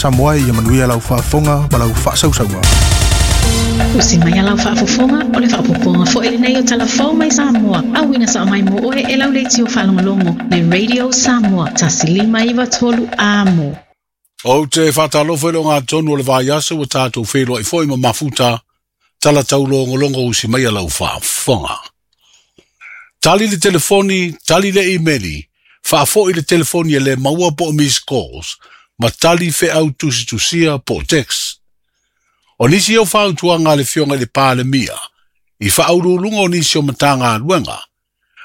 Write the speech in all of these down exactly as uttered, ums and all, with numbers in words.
Samoa ia manuia lau faafofoga ma lau faasausauga. Usi mai a lau faafofoga o le faapopoga foi lenei o Talafou mai Samoa. Auina sa mai mo oe e lau leitio faalogologo le Radio Samoa tasi lima iva tolu amo. Ou te whātalofa i le ngā tonu o le vaiaso ua tātou whenua i foi ma mafuta tala taulogologo usi mai a lau faafofoga. Tali le telefoni, tali le imeli, faafoi le telefoni e le maua po o miss calls, ma tali feau tusitusia po o text. O nisi o fautuaga a le Afioga i le Palemia, i faauluuluga o nisi o Matagaluega,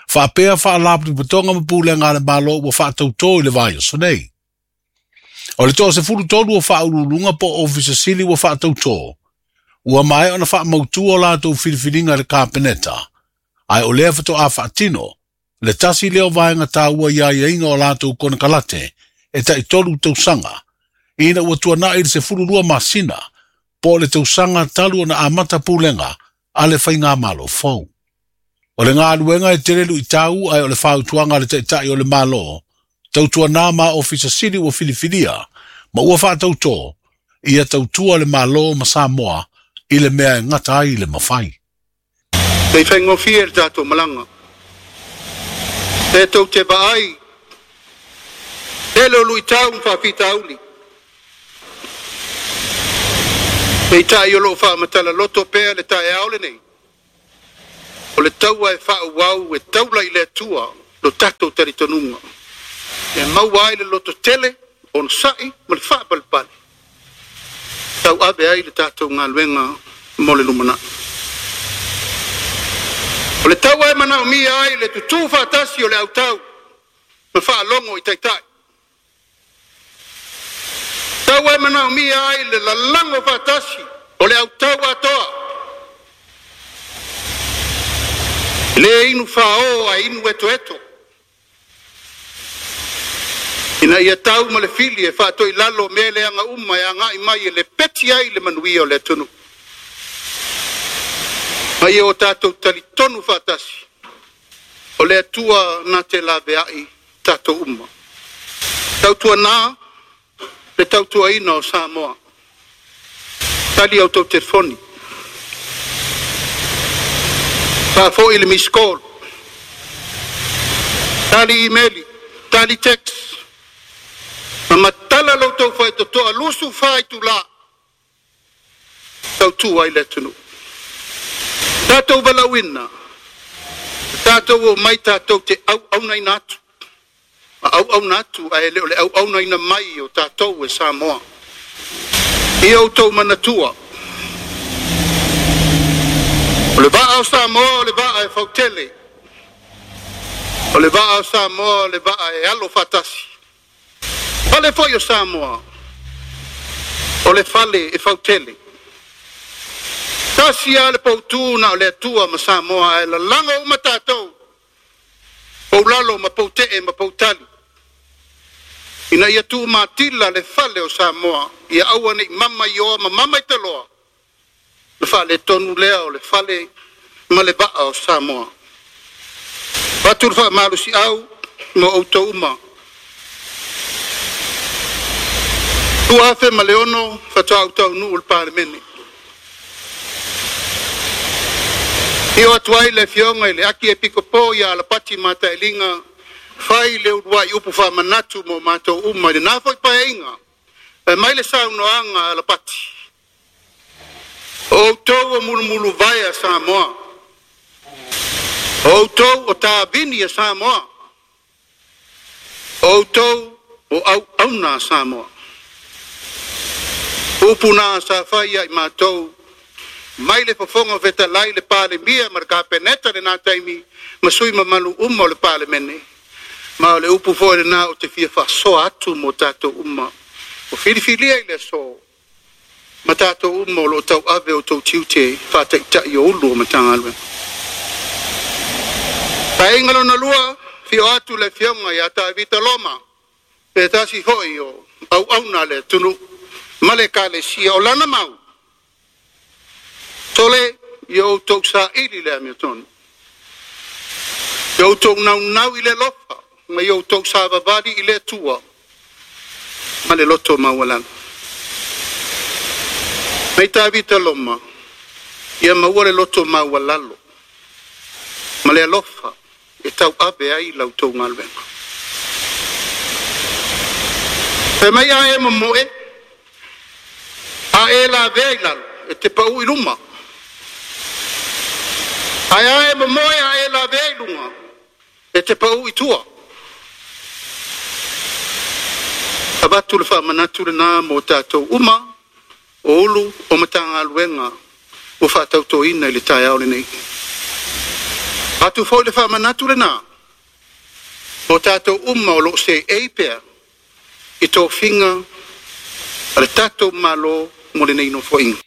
faapea faalapotopotoga ma pulega a le Malo ua faatautō i le vaiaso nei. O le toasefulutolu o faauluuluga po o ofisa sili ua faatautō, ua maea ona faamautua o latou filifiliga i le Kapeneta, ae o lea faatoa faatino, le tasi lea o vaega taua i aiaiga o latou konekarate e taitolu tausaga, ina ua tuanai le sefululua masina, po o le tausaga talu ona amata pulega a le faigamalo fou. O le galuega e tele luitau ae o le fautuaga a le Taitai o le Malo, tautuanā ma ofisa sili ua filifilia, ma ua faatautō, ia tautua le Malo ma Samoa i le mea e gata ai le mafai. Nei faigofie le tatou malaga. E tou te vaai, tele o luitau ma faafitauli. Peitai o loo faamatala loto pea le taeao lenei. O le taua e faauau e taula i le Atua lo tatou talitonuga. E maua ai le loto tele, onosai ma le faapalepale. Tau ave ai le tatou galuega mo le lumanai. O le taua e manaomia ai le tutū faatasi o le autau ma faalogo i taitai. Taua e manaomia ai le lalago faatasi o le autau atoa. Le inu fāō ae inu etoeto. Ina ia tau ma le fili e faatoilalo mea leaga uma e agai mai e le peti ai le manuia o le atunuu. Ma ia o tatou talitonu faatasi o le Atua na te laveai tatou uma. Tautuanā le tautuaina o Samoa. Tali au tau telefoni. Faafoi le miss call. Tali imeli, tali text. Ma matala lau tau faitotoa lusu faitulā. Tautua ai le atunuu. Tatou valaauina, tatou o mai tatou te auaunaina atu. Ma auauna atu ae le o le auaunaina mai o tatou e Samoa. Ia outou manatua. O le vaa o Samoa o le vaa e fautele. O le vaa o Samoa o le vaa e alo faatasi. Fale foi o Samoa, o le fale e fautele. Tasi a le pautū na o le Atua ma Samoa ae lalago uma tatou. Paulalo ma pautee ma pautali. Ina ia tuumatila le fale o Samoa, ia aua nei mama i oa ma mama i taloa. Le faaletonu lea o le fale ma le vaa o Samoa. Fatu le faamalosiau mo outou uma. Tua afe ma le ono faatoa ou taunuu le Palemene. Io atu ai le Afioga i le Aki Epikopo ia Alapati Matailiga fai le uluai upu faamanatu mo matou uma i lenā foi paeaiga. E mai le saunoaga a Alapati. O outou o mulumuluvae a Samoa. O outou o tavini a Samoa. O outou o auauna a Samoa. Upu na sa fai ai matou mai le fofoga fetalai le Palemia ma le Kapeneta lenā taimi ma sui mamalu uma o le Palemene. Ma o le upu foi lenā o te fia faasoa atu mo tatou uma. O filifilia i le aso ma tatou uma o loo tauave o tou tiute faataitai o ulu o Matagaluega. Paeaiga lona lua, fio atu le Afioga ia Tavita Loma, se tasi foi o auauna a le atunuu ma le Ekalesia o lana mau. Sole, ia outou saili le amiotonu. Ia outou naunau i le alofa, ma ia outou savavali i le Atua ma le loto maualalo. Mai Tavita Loma, ia maua le loto maualalo, ma le alofa e tauave ai la outou galuega. Fai mai a e momoe, a e lavea i lalo, e te pau i luma. Ae a e momoe a e lavea i luga, e te pau i tua. Avatu le faamanatu lenā mo tatou uma, o ulu o Matagaluega ua faatautoina i le taeao lenei. Atu foi le faamanatu lenā mo tatou uma o loo seei pea i tofiga a le tatou Malo mo lenei nofoaiga.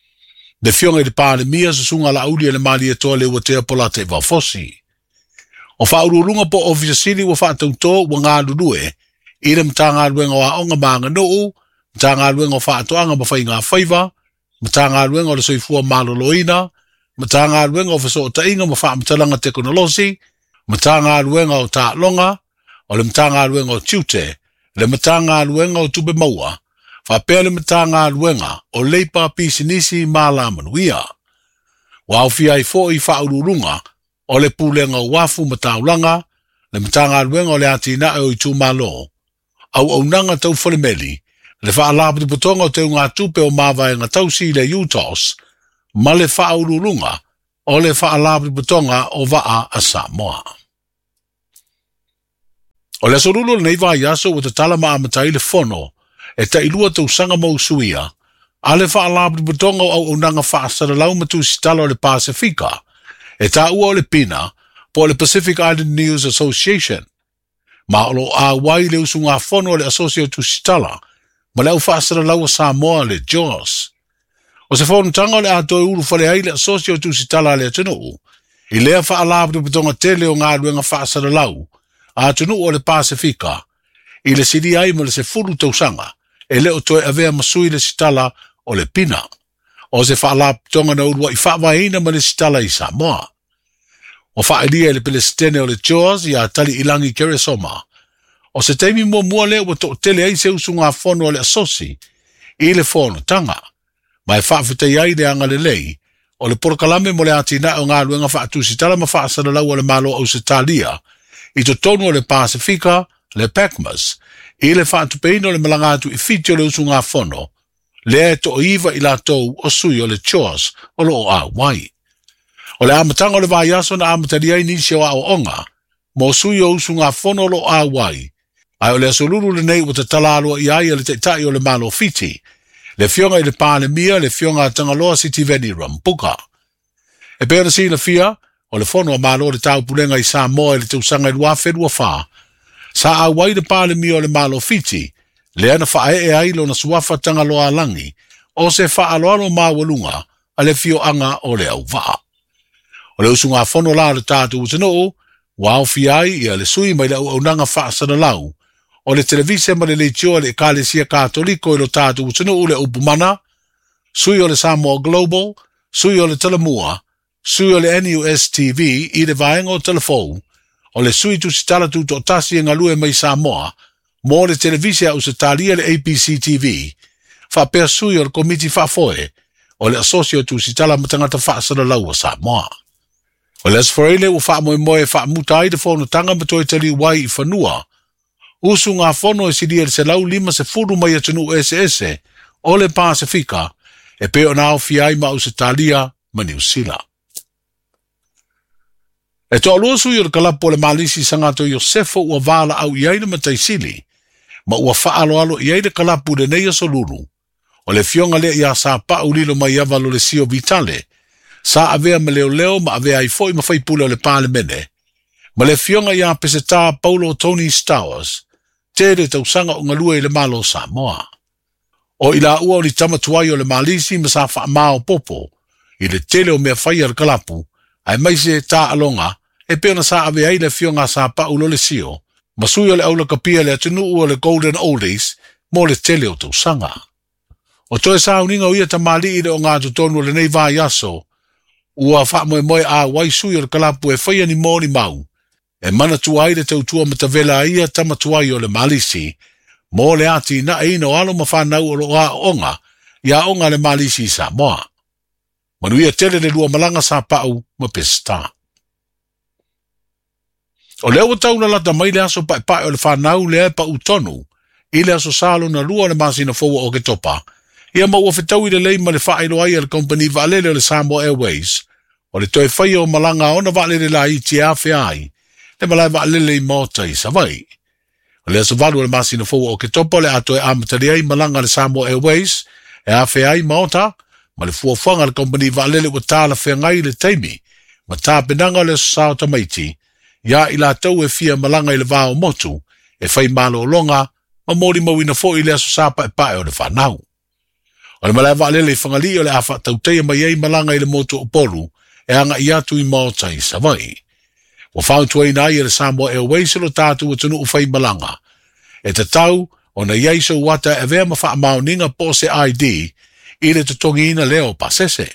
Le Afioga i le Palemia susuga Laauli e le Malietoa le Uatea Polataivao Fosi. O faauluuluga po o Ofisa Sili ua faatautō ua galulue i le Matagaluega o Aoga ma Aganuu, Matagaluega o Faatoaga ma Faiga Faiva, Matagaluega o le Soifua Maloloina, Matagaluega o Fesootaiga ma Faamatalaga Tekonolosi, Matagaluega o Taaloga, o le Matagaluega o Tiute, le Matagaluega o Tupe Maua, faapea le Matagaluega o Leipa Pisinisi ma Alamanuia. Ua aofia ai foi faauluuluga o le Pulega o Uafu ma Taulaga, le Matagaluega o le Atinae o Itumalo, Auaunaga Tau Falemeli, le Faalapotopotoga o Teugatupe o Mavaega Tausi i le U T O S, ma le faauluuluga o le Faalapotopotoga o Vaa a Samoa. O le aso lulu o lenei vaiaso ua tatala ma amatai le fono e tailua tausaga mo usuia, a le Faalapotopotoga o Auaunaga Faasalalau ma Tusitala o le Pasefika, e taua o le PINA po o le Pacific Island News Association, ma o loo auai le usugafono o le Asosi o Tusitala ma le au faasalalau a Samoa le J O S. O se fonotaga o le a toe ulufale ai le Asosi o Tusitala a le atunuu, i lea faalapotopotoga tele o galuega faasalalau a atunuu o le Pasefika, i le silia ai ma le sefulu tausaga, e le o toe avea ma sui le sitala o le PINA. O se faalapotopotoga na uluai faavaeina ma le sitala i Samoa. O faailia i le Pelesitene o le J O S ia Tali'ilangi Keresoma. O se taimi muamua lea ua to'atele ai se usugafono o le asosi i le fonotaga, ma e faafetai ai le agalelei o le polokalame mo le atinae o galuega faatusitala ma faasalalau a le Malo o Ausetalia i totonu o le Pasefika, le PACMAS, i le faatupeina o le malaga atu i Fiti o le usugafono, lea e toaiva i latou o sui o le J O S o loo auai. O le amataga o le vaiaso na amatalia ai nisi o aoaoga mo sui o usugafono o loo auai, ae o le aso lulu lenei ua tatala aloa i ai a le Taitai o le Malo Fiti, le Afioga i le Palemia, le Afioga a Tagaloa Sitiveni Rambuka. E pei ona silafia, o le fono a Malo o le Taupulega i Samoa i le tausaga i lua afe lua fa, sa auai le Palemia o le Malo Fiti, lea na faaee ai lona suafa Tagaloa Alagi, o se faaloalo maualuga a le afioaga o le Auvaa. O le usugafono la o le tatou atunuu, ua aofia ai ia le sui mai le auaunaga faasalalau, o le televise ma le leitioa a le Ekalesia Katoliko i lo tatou atunuu le Upumana, sui o le Samoa Global, sui o le Talamua, sui o le N U S T V i le vaega o Talafou, o le sui tusitala tutoatasi e galue mai Samoa, mo le televise a Ausetalia le A B C T V, faapea sui o le Komiti Faafoe, o le Asosi o Tusitala ma Tagata Faasalalau a Samoa. O le Aso Faraile ua faamoemoe e faamuta ai le fonotaga ma toe taliu ai i fanua, usugafono e silia i le selau lima sefulu mai atunuu eseese o le Pasefika, e pei ona aofia ai ma Ausetalia ma Niu Sila. E toalua sui o le kalapu o le Malisi Sagato Iosefo ua valaau i ai le Mataisili, ma ua faaloalo i ai le kalapu lenei aso lulu. O le afioga lea ia Sapau Lilo mai ava lo le Sio Vitale, sa avea ma leoleo ma avea ai foi ma faipule o le Palemene, ma le afioga ia Peseta Paulo Tony Stowers, tele tausaga o galue i le Malo o Samoa. O i laua o ni tamatuai o le Malisi ma sa faamaopopo i le tele o mea fai a le kalapu, ae mai se taaloga e pei ona sa avea ai le afioga a Sapau lo le Sio, ma sui o le aulakapia le atunuu o le Golden Oldies mo le tele o tausaga. O toe sauniga o ia tamalii le o ngā totonu o lenei vaiaso, ua faamoemoe auai sui o le kalapu e faia ni mo ni mau, e manatua ai le tautua matavela ai ia tamatuai o le Malisi, mo le atinaeina o alo ma whanau o loo aoaoga I aoga a le Malisi i Samoa. Manuia tele le lua malaga Sapau ma Peseta. O lea ua taulalata mai le aso paepae o le fanau lea e pau tonu i le aso Sa lona lua o le masina fou o Oketopa, ia ma ua fetaui lelei ma le faailoa ai a le kompani vaalele o le Samoa Airways o le toe faia o malaga a ona vaalele laiti e afea ai le malae vaalele i Maota i Savaii. O le aso valu o le masina fou o Oketopa o le a toe amatalia ai malaga a le Samoa Airways e afea ai Maota ma le fuafuaga a le kompani vaalele ua talafeagai le taimi ma tapenaga o le aso Sa o tamaiti ia i latou e fia malaga i le va o motu e fai malologa ma molimauina foi le aso Sa paepae o le fanau. O le malae vaalele i Fagalii o le a faatautaia mai ai malaga i le motu o Upolu e agai atu i Maota i Savaii. Ua fautuaina ai e le Samoa Airways lo tatou atunuu fai malaga e tatau ona i ai sou ata e avea ma faamaoniga po o se I D i le totogiina lea o pasese.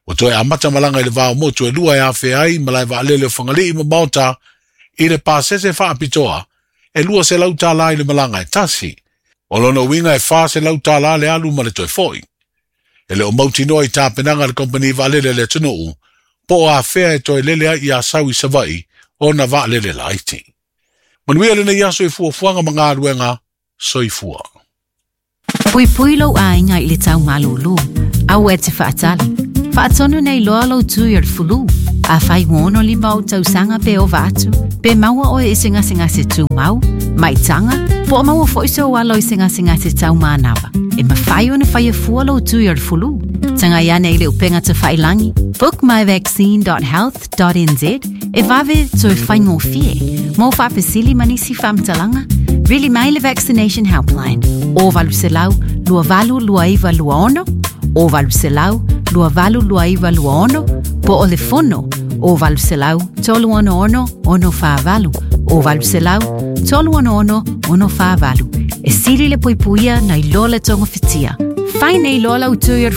Ua toe amata malaga i le va o motu e lua e afea ai malae vaalele o Fagalii ma Maota i le pasese faapitoa e lua selau tālā i le malaga e tasi. O lona uiga e fa selau tālā le alu ma le toe foi. E le o mautinoa i tapenaga a le kompani vaalele a le atunuu po o afea e toe lele ai i Asau i Savaii ona vaalele laiti. Manuia lenei aso i fuafuaga ma galuega, soifua. Puipui lou aiga i le taumalūlū, aua e te faatali. Faatonu nei loa lou tui o le fulu. Afai ua ono lima ou tausaga pe ova atu, pe maua oe i se gasegase tumau, maitaga, po o maua foi sou alo i se gasegase taumanava. E mafai ona faia fua lou tui o le fulu. Tagai ane i le upega tafailagi, book my vaccine dot health dot n z e vave toe faigofie. Mo faafesili ma nisi faamatalaga, vili mai le Vaccination Helpline o valu selau lua valu lua iva lua ono, o valu selau lua valu lua iva lua ono, po o le fono o valu selau tolu ono ono ono whaavalu, o valu selau tolu ono ono ono whaavalu. E sili le puipuia nei loa le tonga fitia. Fai nei loa lau tui o le